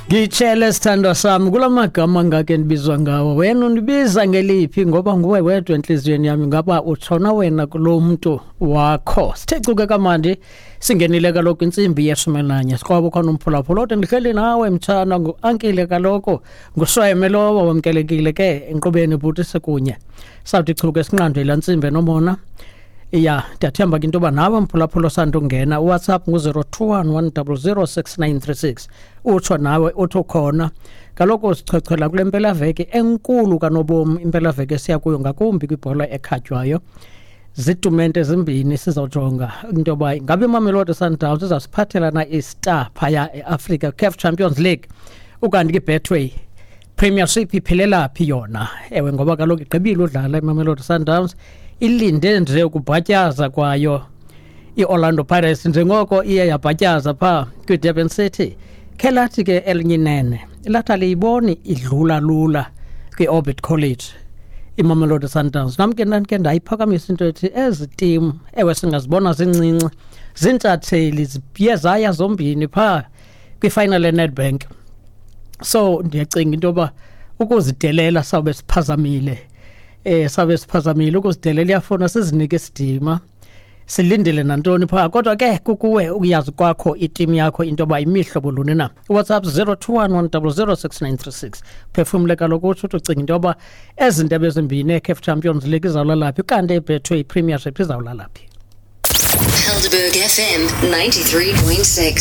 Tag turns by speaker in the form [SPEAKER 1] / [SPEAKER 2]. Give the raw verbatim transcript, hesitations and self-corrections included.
[SPEAKER 1] Ngitshele, sithandwa sami, kula magama ngake ndibizwa ngawo, wena undibiza ngeliphi? Ngoba nguwe wedwa enhliziyweni yami. Ngaba utshona wena kulo muntu wakho? Sithe cuke kamandi, singenile kaloku intsimbi yeshumi nanye. Sikwabo khona umphulaphula othi ndihleli nawe mtshana, ngu-ankile kaloku, ngusweme lowo. Wamkelekile ke enkqubeni, bhuti, sekunye sawuthi chuke sinqandwe laa ntsimbi enomona. Ya, ndiyathemba ke into yoba nawe mphulaphula osandungena, uWhatsApp ngu-zero two one one double zero six nine three six, utsho nawe uthi ukhona. Kaloku sichwechwela kule mpelaveki enkulu kanobomi, impelaveki esiya kuyo ngakumbi kwibhola ekhatywayo. Zitumente ezimbini. Sizawujonga into yoba ngabe iMamelodi Sundowns izawusiphathela na i-star phaya eAfrica, CAF Champions League, ukanti kwiBetway Premiership iphelela phi yona? Ewe, ngoba kaloku igqibile udlala iMamelodi Sundowns, ilinde nje ukubhatyaza kwayo i-Orlando Pirates njengoko iye yabhatyaza phaa kwiDurban City. Khe lathi ke elinye inene lathi aliyiboni idlula lula kwi-Orbit College iMamelodi Sundowns. Nam ke ndandike ndayiphakamisa into ethi ezi tim, ewe, singazibona zincinci, ziintshatsheli, ziye zaya zombini phaa kwifinal yeNedbank, so ndiyacinga into yoba ukuzidelela sawube siphazamile, eh sabe siphazamile ukuzidelela. Iyafuna sizinike isidima, silindele nantoni phaa, kodwa ke kukuwe ukuyazi kwakho itimu yakho into yoba imihlobo luni na. WhatsApp zero two one one double zero six nine three six. Phefumle kaloku, utsho uthi ucinga into yoba ezi ndebe ezimbini, eCAF Champions League izawulala phi, kanti eBetway Premiership izawulala phi?
[SPEAKER 2] Helderberg F M ninety-three point six.